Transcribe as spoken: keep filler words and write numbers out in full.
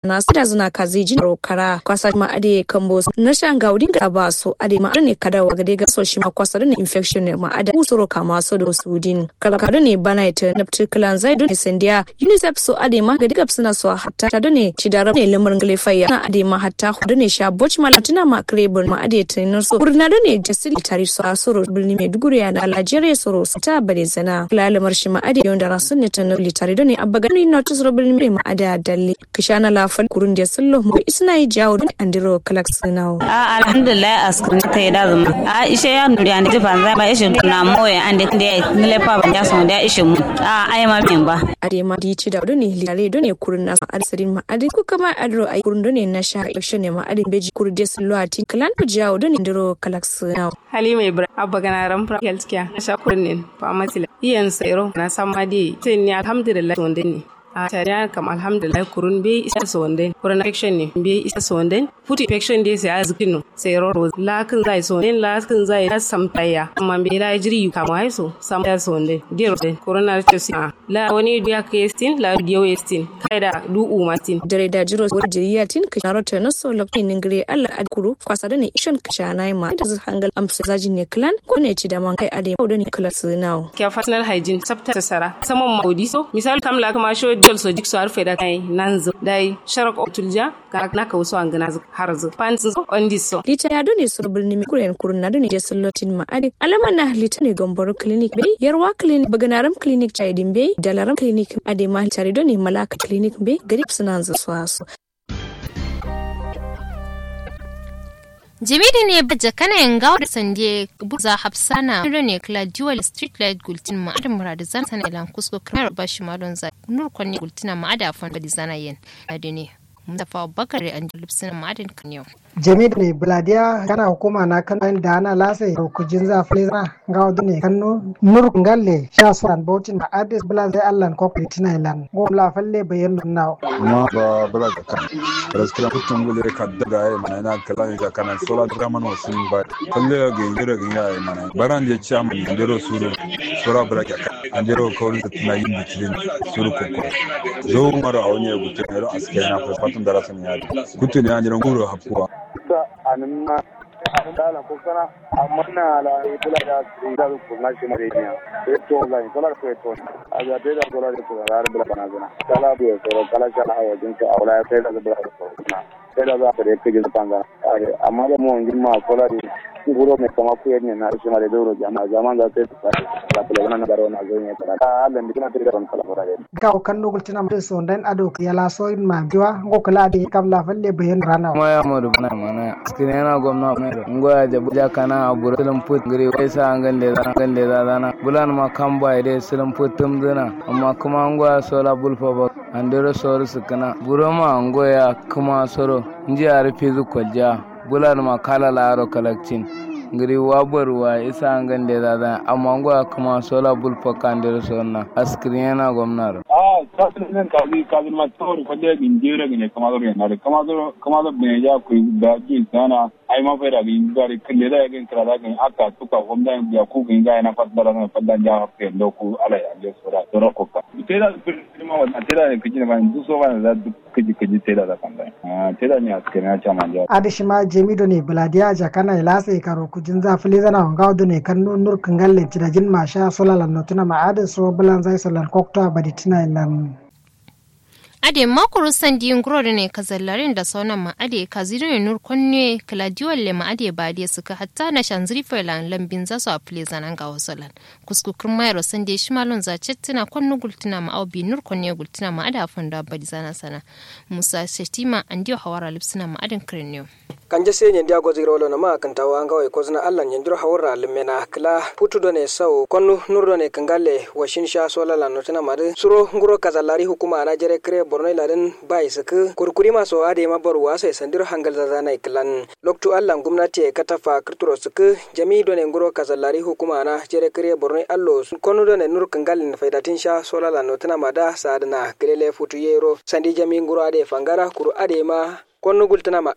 na sida zǝna kazi jin ro kara kwasa ma ade kambo nasha ngawo din ga ba so ade ma ade ne kada wa gade ga so shima kwasa done infection ne ma ade usuro kama so do sudin kala ka done bana ita naptu klan zai done sandiya unicef so ade ma gade gab suna so hatta ta done ci da rabne lamar ngale fayya na ade ma hatta done sha boch ma latina ma krebur ma ade tinar so kurna done jasil tari so asuro birni maiduguri ya na alajere soro ta bare zana kala lamar shi ma ade yonda rasun ne tanar litari done abba gani notice ro birni ma ade dalle kǝshana la fal kurun de sǝllo mo isna ye jawo dǝn andiro kalak sǝnawo. A alhamdulillah askǝrǝn ta ye da zǝma a ishe ya nuri ande jifa nza ba ishe na moye ande kǝnde ya yi nǝle fa banja sonde ya ishe mu a ai ma min ba. Ade ma di ci da done litare done kurun nasa ade sǝrin ma ade ku kama adiro ai kurun done nasha election ne ma ade mbeji kurun de sǝllo a tin kǝlan jawo done andiro kalak sǝnawo. Halima ibrahim abba gana ram pra health care nasha kurun nin pharmacy la iyan sairo na samma de tin ni alhamdulillah sonde ni. A tariya kam alhamdulillah kurun be isa sonde kurun infection ne be isa sonde food infection de sai azkino sai roro la kǝn zai sonde la kǝn zai samtaya amma be la jiri yu kama ai so samtaya sonde dero de kurun na ce si la wani diya ke stin la diyo stin kai da du uma stin. Dare da jiro wani jiriya tin kasharo ta naso lokacin ningire allah adkuru kwasa da ne ishan kashana ma da hangal amsa zaji ne klan ko ne ci da man kai ade ma da ne klan sinawo. Kya personal hygiene tsafta ta sara saman maudi so misal kam la kuma sho jol so jik so arfe da kai nanzu dai sharak otulja ga na ka wuso angana zu har zu pantin so ondi so. Lita ya done sur birni mi kuren kurun na done je sullotin ma ade alama na lita ne gomboro clinic be yarwa clinic baganaram clinic chaidin be dalaram clinic ade ma tare done malaka clinic be garib suna zu so aso. Jami da ne ba jakana yin gawo da sande buza hafsana da ne kala dual street light gultin ma adam muradu zan sana ilan kusko kamar ba shi ma don za nur kwanne gultina ma ada fon badi zana yen. Ade ne mustapha abubakar an lubsina ma adin kan yau. Jami da ne buladiya kana hukuma na kan da ana lasa rukujin za fule zana gawo da ne kanno nur ngalle sha suran bautin ma adis bula zai allan kokritina ilan gom la falle bayan nunna. Kuma ba bula ga kan raskira kutun gule kadda ga yayi mana ina kala ne ga kana sola da man wasin ba kalle ga ingira ga yayi mana baran da ciya man dero suru sura bula ga kan an dero kawai da tana yin bikilin suru kokko zo mara a wani ya gutu ne ro aske na fa fatun da rasan ya gutu ne an dero guro hapkuwa. Sa anin ma dala ko kana amma na la bula da su da ku na shi mare ne. Sai to zai sola ko to a ga da sola da ko har bula bana zana kala bu ya soro kala sha hawa jin ka aula ya sai da bula da soro na sai da za ka da kije fanga amma da mu ngin ma sola da guro me kama ku ne na shi mare doro jama'a jama'a za sai da bula na garo na zo ne kala Allah ndi kina tare da kala fara. Gawo kanno gultina ma so ndan ado yala so in ma biwa ngo kala ade kam la falle bayan rana. Kuma ya modu bana mana askine na gomna mero ngo ya jabu jakana abura silum put ngiri wai sa angan de zana angan de zana bulan ma kam bai de silum put tum zana amma kuma ngo ya sola bulfa ba andero soru sukana buro ma ngo ya kuma soro nji ari fizu kolja. Bulan ma kala laro kalakcin ngiri wa baruwa isa angan de zana amma ngo ya kuma sola bulfa kandero sorna askine na gomna ro. A kasu ne kasu kasu ma tsoro falle gin jere gine kama zoro yana da kama zoro kama zoro bine ja ku da ji sana ai ma faida gin gari kalle da gin kala da gin aka tuka gomna ya ku gin ga yana fadda da fadda ja ke doku ala ya je sura sura ko ka. Te da ma wa te da ne kiji ne ba du so ba da duk kiji kiji te da da kan da. Te da ne askene na chama ja. Adi shima jemi do ne buladiya jakana ilasa karo kujin za fule zana wanga do ne kan nur kangalle cidajin ma sha sola lan notuna ma adi so bulan zai solan kokto abadi tina ilan. Ade makuru sandi nguro done kazallarin da saunan ma ade kazi done nur konne kaladiyo le ma ade ba de suka hatta na shanziri failan lambin za su a fule zanan ga wasu lan kusku kirma yaro sandi shi malon za cettina konnu gultuna ma au bi nur konne gultuna ma ada fondo abadi zana sana. Musa shetima andiyo hawara lipsuna ma adin kirniyo. Kanje sai nyen diya gozi rolo na ma kantawa ngawai kozna allan nyen diro hawurra limmena kla putu done sau konnu nur done kangale washin sha sola la notuna madu suro nguro kazallari hukuma na jere kre borno iladin bai sukku kurkuri maso ade ma boru waso sandiro hangal zazana klan. Loktu allan gumnati katafa kirturo sukku jami done nguro kazallari hukuma na jere kre borno allo konnu done nur kangale faidatin sha sola la notuna mada sadana kilele futu yero sandi jami nguro ade fangara kuru ade ma konnu gultuna ma.